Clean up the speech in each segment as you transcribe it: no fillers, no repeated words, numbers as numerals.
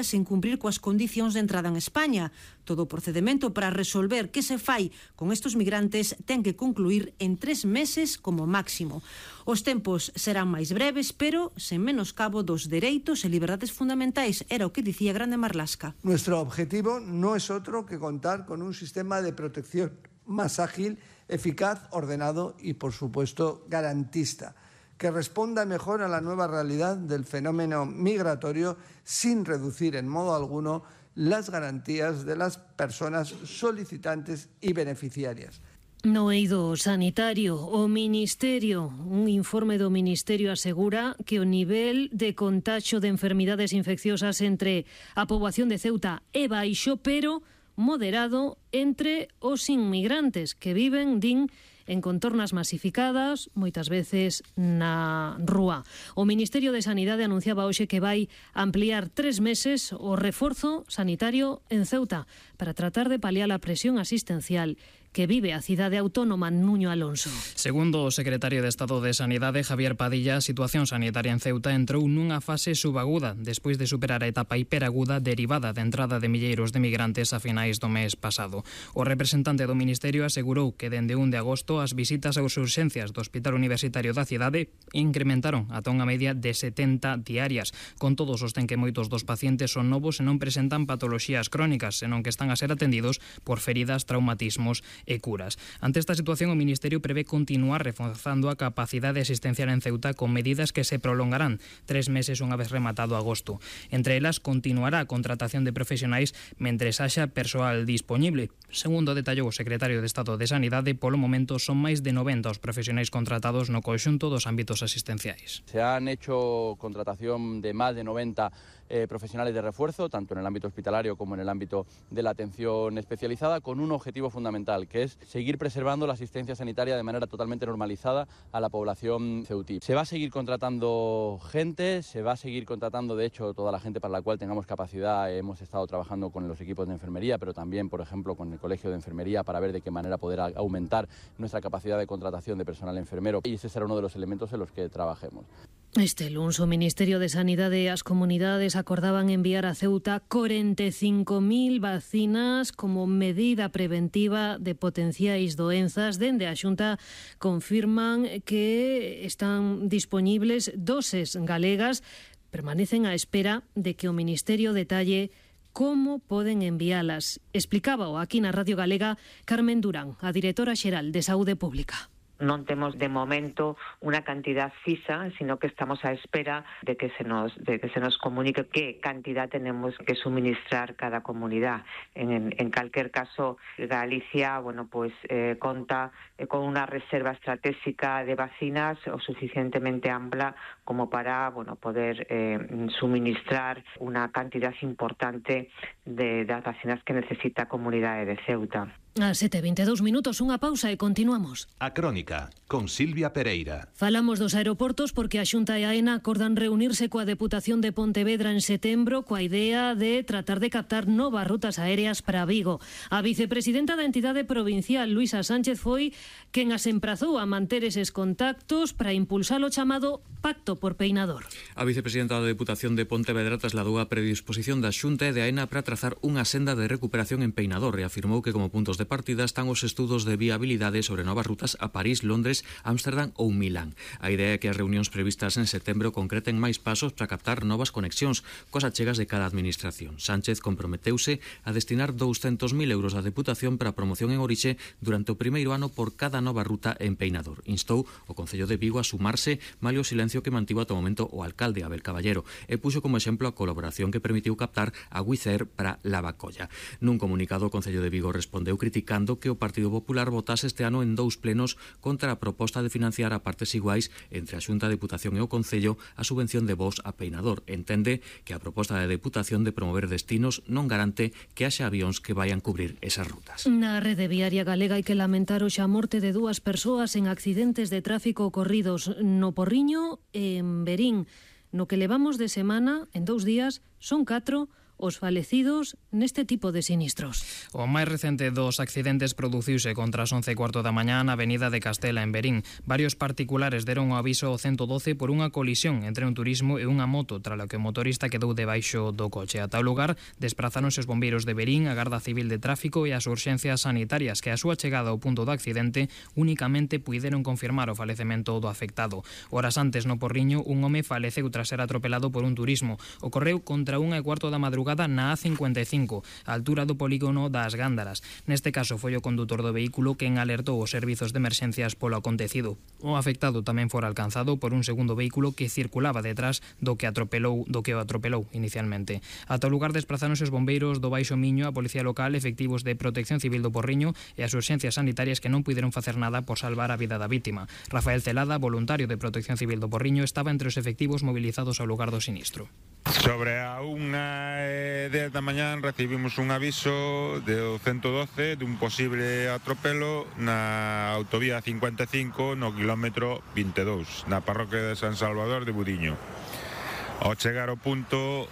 sen cumprir coas condicións de entrada en España. Todo o procedemento para resolver que se fai con estes migrantes ten que concluir en 3 meses como máximo. Os tempos serán máis breves, pero sen menoscabo dos dereitos e liberdades fundamentais, era o que dicía Grande Marlaska. Nuestro objetivo no es otro que contar con un sistema de protección más ágil, eficaz, ordenado y, por supuesto, garantista, que responda mejor a la nueva realidad del fenómeno migratorio sin reducir en modo alguno las garantías de las personas solicitantes y beneficiarias. No eido sanitario, o Ministerio, un informe do Ministerio asegura que o nivel de contaxio de enfermidades infecciosas entre a poboación de Ceuta é baixo, pero moderado entre os inmigrantes que viven, din, en contornas masificadas, moitas veces na rúa. O Ministerio de Sanidade anunciaba hoxe que vai ampliar 3 meses o reforzo sanitario en Ceuta para tratar de paliar a presión asistencial que vive a cidade autónoma. Nuño Alonso. Segundo o secretario de Estado de Sanidade, Javier Padilla, a situación sanitaria en Ceuta entrou nunha fase subaguda despois de superar a etapa hiperaguda derivada da entrada de milleiros de migrantes a finais do mes pasado. O representante do Ministerio asegurou que dende 1 de agosto as visitas aos urxencias do Hospital Universitario da cidade incrementaron ata unha media de 70 diarias. Con todo, sostén que moitos dos pacientes son novos e non presentan patoloxías crónicas, senón que están a ser atendidos por feridas, traumatismos e curas. Ante esta situación, o Ministerio prevé continuar reforzando a capacidade asistencial en Ceuta con medidas que se prolongarán 3 meses unha vez rematado agosto. Entre elas, continuará a contratación de profesionais mentres haxa persoal disponible. Segundo detallou o secretario de Estado de Sanidade, polo momento son máis de 90 os profesionais contratados no conxunto dos ámbitos asistenciais. Se han hecho contratación de más de 90 profesionales de refuerzo, tanto en el ámbito hospitalario como en el ámbito de la atención especializada, con un objetivo fundamental, que es seguir preservando la asistencia sanitaria de manera totalmente normalizada a la población ceutí. Se va a seguir contratando gente, se va a seguir contratando, de hecho, toda la gente para la cual tengamos capacidad. Hemos estado trabajando con los equipos de enfermería, pero también, por ejemplo, con el Colegio de Enfermería para ver de qué manera poder aumentar nuestra capacidad de contratación de personal enfermero, y ese será uno de los elementos en los que trabajemos. Este luns o Ministerio de Sanidade e as comunidades acordaban enviar a Ceuta 45.000 vacinas como medida preventiva de potenciais doenzas. Dende a Xunta confirman que están dispoñibles doses galegas, permanecen á espera de que o Ministerio detalle como poden envialas. Explicábao aquí na Radio Galega Carmen Durán, a directora xeral de Saúde Pública. Non temos de momento unha cantidad fisa, sino que estamos á espera de que se nos comunique que cantidad tenemos que suministrar cada comunidad. En calquer caso, Galicia, conta con unha reserva estratégica de vacinas o suficientemente ampla como para poder suministrar unha cantidad importante de das vacinas que necesita a comunidade de Ceuta. A 7:22 minutos, unha pausa e continuamos. A Crónica, con Silvia Pereira. Falamos dos aeroportos porque a Xunta e a AENA acordan reunirse coa Deputación de Pontevedra en setembro coa idea de tratar de captar novas rutas aéreas para Vigo. A vicepresidenta da entidade provincial, Luisa Sánchez, foi quen as emprazou a manter eses contactos para impulsar o chamado Pacto por Peinador. A vicepresidenta da Deputación de Pontevedra trasladou a predisposición da Xunta e de AENA para trazar unha senda de recuperación en Peinador e afirmou que como puntos de partida están os estudos de viabilidade sobre novas rutas a París, Londres, Ámsterdam ou Milán. A idea é que as reunións previstas en setembro concreten máis pasos para captar novas conexións coas achegas de cada administración. Sánchez comprometeuse a destinar 200.000 euros á Deputación para a promoción en orixe durante o primeiro ano por cada nova ruta en Peinador. Instou o Concello de Vigo a sumarse malia o silencio que mantivo ata o momento o alcalde Abel Caballero e puxo como exemplo a colaboración que permitiu captar a Wizz Air para Lavacolla. Nun comunicado, o Concello de Vigo respondeu criticando que o Partido Popular votase este ano en 2 plenos contra a proposta de financiar a partes iguais entre a Xunta, a Deputación e o Concello a subvención de voos a Peinador. Entende que a proposta da Deputación de promover destinos non garante que haxa avións que vayan cubrir esas rutas. Na rede viaria galega hai que lamentar hoxe a morte de 2 persoas en accidentes de tráfico ocorridos no Porriño e en Verín. No que levamos de semana, en 2 días, son 4 os falecidos neste tipo de sinistros. O máis recente dos accidentes produciuse contra as 11:15 da mañá na avenida de Castela en Verín. Varios particulares deron o aviso ao 112 por unha colisión entre un turismo e unha moto, tralo que o motorista quedou debaixo do coche. Ata o lugar desprazáronse os bombeiros de Verín, a Garda Civil de Tráfico e as urxencias sanitarias que a súa chegada ao punto do accidente únicamente puideron confirmar o falecemento do afectado. Horas antes no Porriño, un home faleceu tras ser atropelado por un turismo. Ocorreu contra 1:15 da madrugada na A55, a altura do polígono das Gándaras. Neste caso foi o condutor do vehículo quen alertou os servizos de emerxencias polo acontecido. O afectado tamén fora alcanzado por un segundo vehículo que circulaba detrás do que o atropelou inicialmente. Ata o lugar desprazáronse os bombeiros do Baixo Miño, a Policía Local, efectivos de Protección Civil do Porriño e as urxencias sanitarias que non puideron facer nada por salvar a vida da vítima. Rafael Celada, voluntario de Protección Civil do Porriño, estaba entre os efectivos movilizados ao lugar do sinistro. Sobre a 1:10 da mañá recibimos un aviso do 112 dun posible atropelo na autovía 55 no quilómetro 22, na parroquia de San Salvador de Budiño. Ao chegar ao punto,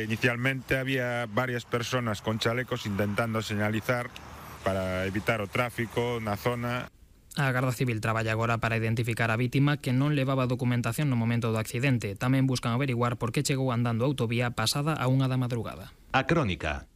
inicialmente había varias persoas con chalecos intentando señalizar para evitar o tráfico na zona. A Garda Civil traballa agora para identificar a vítima que non levaba documentación no momento do accidente. Tamén buscan averiguar por que chegou andando a autovía pasada a 1 da madrugada. A crónica.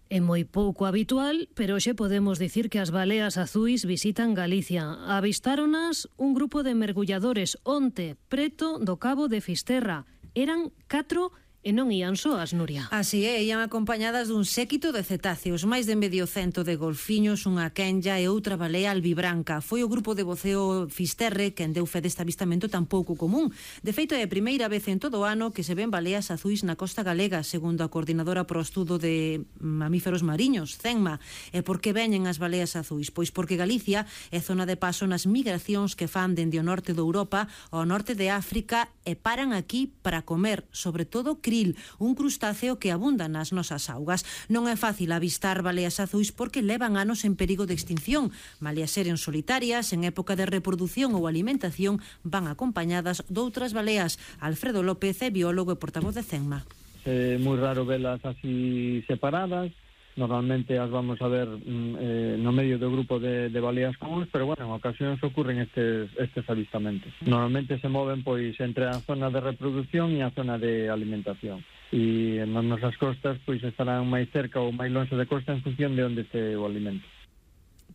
É moi pouco habitual, pero hoxe podemos dicir que as baleas azuis visitan Galicia. Avistáronas un grupo de mergulladores onte, preto do Cabo de Fisterra. Eran 4 e non ían soas, Nuria. Así é, ían acompañadas dun séquito de cetáceos, máis de medio cento de golfiños, unha quenlla e outra balea albibranca. Foi o grupo de voceo Fisterre quen deu fe deste avistamento tan pouco común. De feito, é a primeira vez en todo o ano que se ven baleas azuis na costa galega, segundo a coordinadora pro estudo de mamíferos mariños, CENMA. E por que veñen as baleas azuis? Pois porque Galicia é zona de paso nas migracións que fan dende o norte de Europa ao norte de África e paran aquí para comer, sobre todo krill, un crustáceo que abunda nas nosas augas. Non é fácil avistar baleas azuis porque levan anos en perigo de extinción. Malia seren solitarias, en época de reproducción ou alimentación, van acompañadas doutras baleas. Alfredo López é biólogo e portavoz de CENMA. É moi raro velas así separadas. Normalmente as vamos a ver no medio do grupo de baleas comuns, pero bueno, en ocasións ocurren estes avistamentos. Normalmente se moven pois entre a zona de reproducción e a zona de alimentación. E nas nosas costas pois estarán máis cerca ou máis longe de costa en función de onde este o alimento.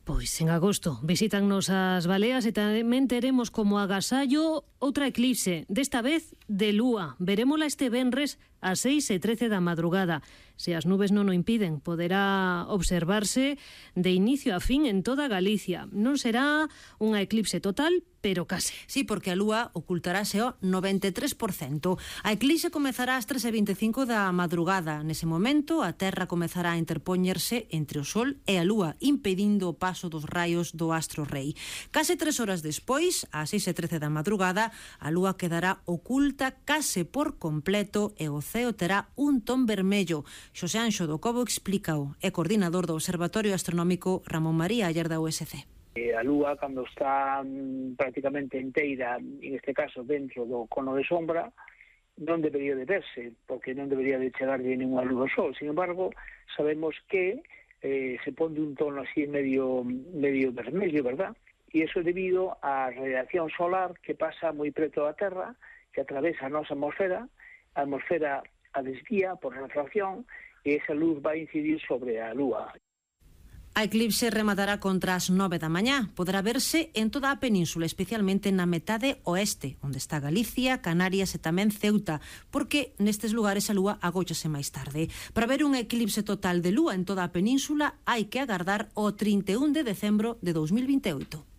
Pois en agosto visitannos as baleas e tamén teremos como agasallo outra eclipse, desta vez de lúa. Verémola este venres ás 6:13 da madrugada. Se as nubes non o impiden, poderá observarse de inicio a fin en toda Galicia. Non será unha eclipse total, pero case. Sí, porque a lúa ocultarase ao 93%. A eclipse comezará ás 3:25 da madrugada. Nese momento, a Terra comezará a interpoñerse entre o Sol e a lúa, impedindo o paso dos raios do astro rei. Case 3 horas despois, ás 6:13 da madrugada, a lúa quedará oculta case por completo e o ceo terá un ton vermello. Xosé Anxo do Cobo explícao. É coordinador do Observatorio Astronómico Ramón María Aller da USC. A lúa, cando está prácticamente inteira, en este caso dentro do cono de sombra, non debería de verse, porque non debería de chegar de ninguna luz ao sol. Sin embargo, sabemos que se pon de un tono así medio vermello, verdad? E iso é debido á radiación solar que pasa moi preto da Terra, que atravesa a nosa atmosfera, a atmosfera a desvía por refracción e esa luz vai incidir sobre a lúa. A eclipse rematará contra as 9 da mañá. Poderá verse en toda a península, especialmente na metade oeste, onde está Galicia, Canarias e tamén Ceuta, porque nestes lugares a lúa agóchase máis tarde. Para ver un eclipse total de lúa en toda a península hai que agardar o 31 de decembro de 2028.